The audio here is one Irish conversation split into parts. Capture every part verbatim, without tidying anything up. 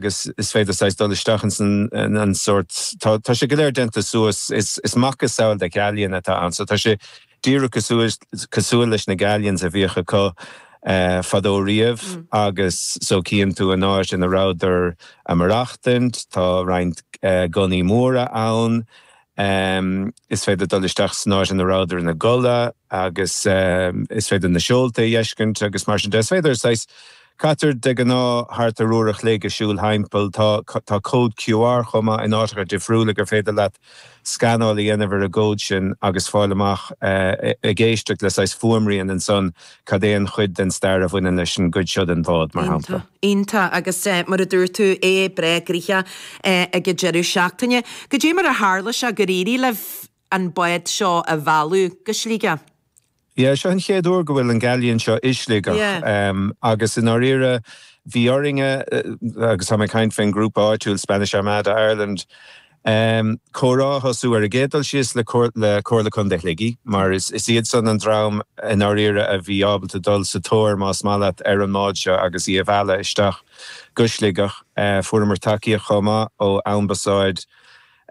Agus is féidir saghas dul isteach ins an an sórt, tá tá sé go léir déanta suas, is is macasamhail de galleon atá ann, so tá sé díreach cosúil cosúil leis na galleons a bhíodh acu fadó riamh. Agus so cíonn tú an áit ina rabhadar ag maireachtaint, tá roinnt gunnaí móra ann, is féidir dul isteach san áit ina rabhadar ina gcodladh agus is féidir na seolta a fheiscint agus mar sin de. Is féidir saghas, caitear de ghnáth thart ar uair a chloig ag siúl thimpeall. Tá tá cód Q R chomh maith in áiteacha difriúla gur féidir leat scanáil a dhéanamh ar an gcód sin agus fáil amach, ag éisteacht le saghas fuaimrian ansan, cad é an chuid den stair a bhaineann leis an gcuid seo den bhád, mar shampla. Iontach. Agus mar a dúirt tú, é breá gnoitheach ag an deireadh seachtaine. Goidé mar a tharla sé gur éirigh libh an bád seo a mhealladh go Sligeach? Yeah, seo an chéad uair go bhfuil an galleon seo i Sligeach. Agus i ndáiríre bhí orainne, agus tá mé ag caint faoin ngrúpa áitiúil Spanish Armada Ireland, comhrá a thosú ar an gcéad dul síos le le Comhairle Contae Shligigh, mar is is iad san an dream i ndáiríre a bhí ábalta dul sa tóir, más maith leat, ar an mbád seo agus í a mhealladh isteach go Sligeach. Fuaireamar tacaíocht chomh maith ó Ambasáid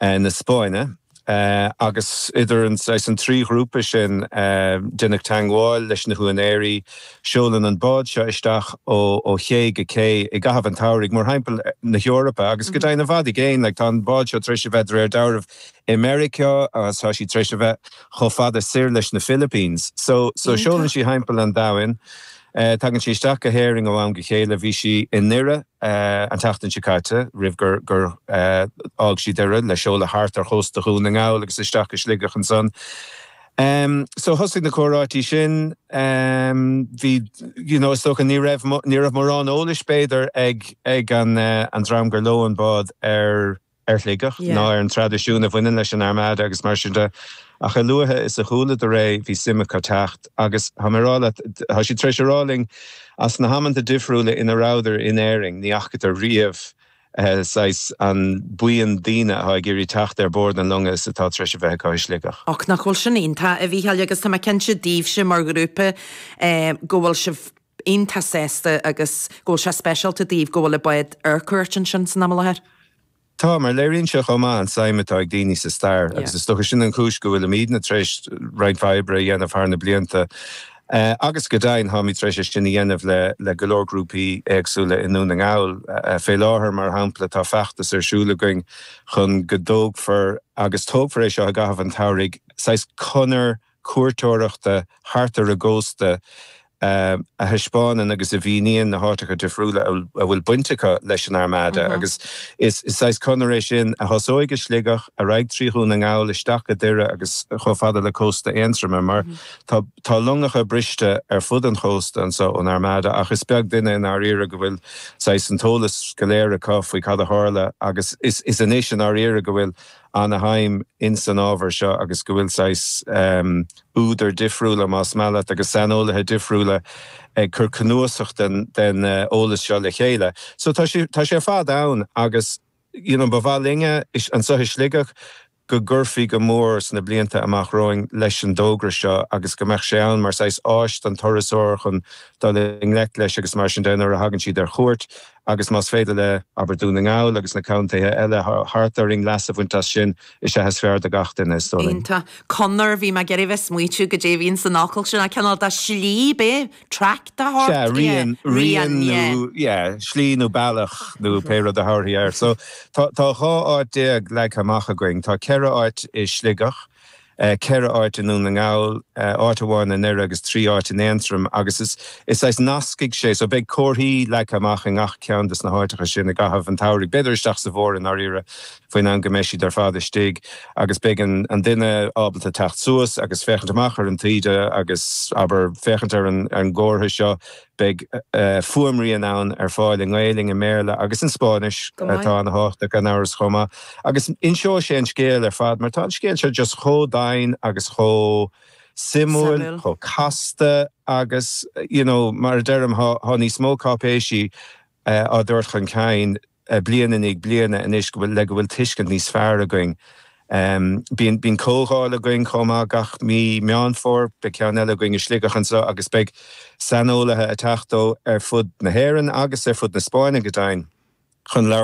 na Spáinne. Agus idir an saghas an trí ghrúpa sin, déanadh teagmháil leis na húinéirí. Seolann an bád seo isteach ó ó ché go cé i gcaitheamh an tsamhraidh, mórthimpeall na hEorpa agus go deimhin i bhfad i gcéin. Like, tá an bád seo tar éis a bheith de réir dealraimh i Meiriceá agus tá sí tar éis a bheith chomh fada soir leis na Philippines. So so seolann sí thimpeall an domhain. Tagann sí isteach go hÉirinn ó am go chéile. Bhí sí i nDoire an tseachtain seo caite roimh gur gur fhág sí Doire le seoladh thart ar chósta Dhún na nGall agus isteach go Sligeach ansan. So thosaigh na comhráití sin. Bhí, you know, is dócha ní raibh ní raibh mórán eolais b'fhéidir ag ag an an dream gur leo an bád ar ar Shligeach ná ar an traidisiún a bhaineann leis an Armada agus mar sin de. Ach a luaithe is a chualadar é, bhí suim acu teacht agus tá mé ag rá leat, tá siad tar éis a rá linn as na hamanta difriúla ina rabhadar in Éirinn, ní fhacadar riamh saghas an buíon daoine atá ag iarraidh teacht ar bord an longa is atá tar éis a bheith acu i Sligeach. Och, nach bhfuil sin iontach, a Mhícheáil, agus tá mé cinnte daoibhse mar ghrúpa go bhfuil sibh iontach sásta agus go bhfuil sé speisialta daoibh go bhfuil an bád ar cuairt ansin san am i láthair. Tá, mar léiríonn sé chomh maith an tsuim atá ag daoine sa stair agus is dócha sin an chúis go bhfuilimidne tar éis roinnt mhaith oibre a dhéanamh thar na blianta. Agus go deimhin, táimid tar éis é sin a dhéanamh le le go leor grúpaí éagsúla i nDún na nGall. Fé láthair, mar shampla, tá feachtas ar siúl againn chun go dtógfar, agus tógfar é seo i gcaitheamh an tsamhraidh, saghas conair cuairteoireachta thart ar an gcósta a thaispeánann agus a mhíníonn na háiteacha difriúla a bhfuil baint acu leis an Armada. Agus is saghas conair é sin a thosóidh i Sligeach, ar aghaidh trí Dhún na nGall, isteach go Doire agus chomh fada le cósta Aontroma, mar tá tá longacha briste ar fud an chósta anseo ón Armada ach is beag duine i ndáiríre go bhfuil saghas an t-eolas go léir acu faoi cad a tharla. Agus is is anois i ndáiríre go bhfuil ana-shuim ins an ábhar seo agus go bhfuil saghas údair difriúla, más maith leat, agus saineolaithe difriúla ag cur cnuasach den den eolas seo le chéile. So tá sé tá sé ar fad ann agus you know ba mhaith linne anseo i Sligeach go gcuirfí go mór sna blianta amach romhainn leis an dtogra seo agus go mbeadh sé ann mar saghas áis don turasóir chun dul i ngleic leis agus mar sin de nuair a thagann siad ar chuairt. Agus más féidir le, abair, Dún na nGall agus na contaetha eile thart orainn leas a bhaint as sin, is ea is fearr do gach duine, is dóigh linn. Iontach. Conair, bhí mé ag iarraidh bheith smaoitiú goidé a bhíonn san fhocal sin, ach cineál de slí, b'é? Track de shórt? Sea, rian, rian nó, yeah, slí nó bealach nó pé rud a thabharfaí air. So, tá, tá dhá áit déag leagtha amach againn. Tá ceithre áit i Sligeach, ceithre áit i nDún na nGall, áit amháin i nDoire agus trí áit in Aontroim agus is is saghas nascfaidh sé, so beidh comharthaí leagtha amach i ngach ceann de na háiteacha sin i gcaitheamh an tsamhraidh, b'fhéidir isteach sa bhfómhar i ndáiríre faoin am go mbeidh siad ar fad istigh agus beidh an an duine ábalta teacht suas agus féachaint amach ar an taoide agus, abair, féachaint ar an ar an gcomhartha seo. Beidh fuaimrian ann ar fáil i nGaelainn, i mBéarla agus in Spáinnis, atá ana-thábhachtach gan amhras chomh maith. Agus inseoidh sé an scéal ar fad mar tá an scéal seo just chomh domhain agus chomh suimiúil, chomh casta agus you know mar a deirim tá níos mó cáipéisí á dtabhairt chun cinn bliain i ndiaidh bliana anois go bhfuil le go bhfuil tuiscint níos fearr againn. Bíonn bíonn comhdháil againn chomh maith gach mí Meán Fómhair, beidh ceann eile againn i Sligeach anseo agus beidh saineolaithe ag teacht ó ar fud na hÉireann agus ar fud na Spáinne go deimhin chun labhairt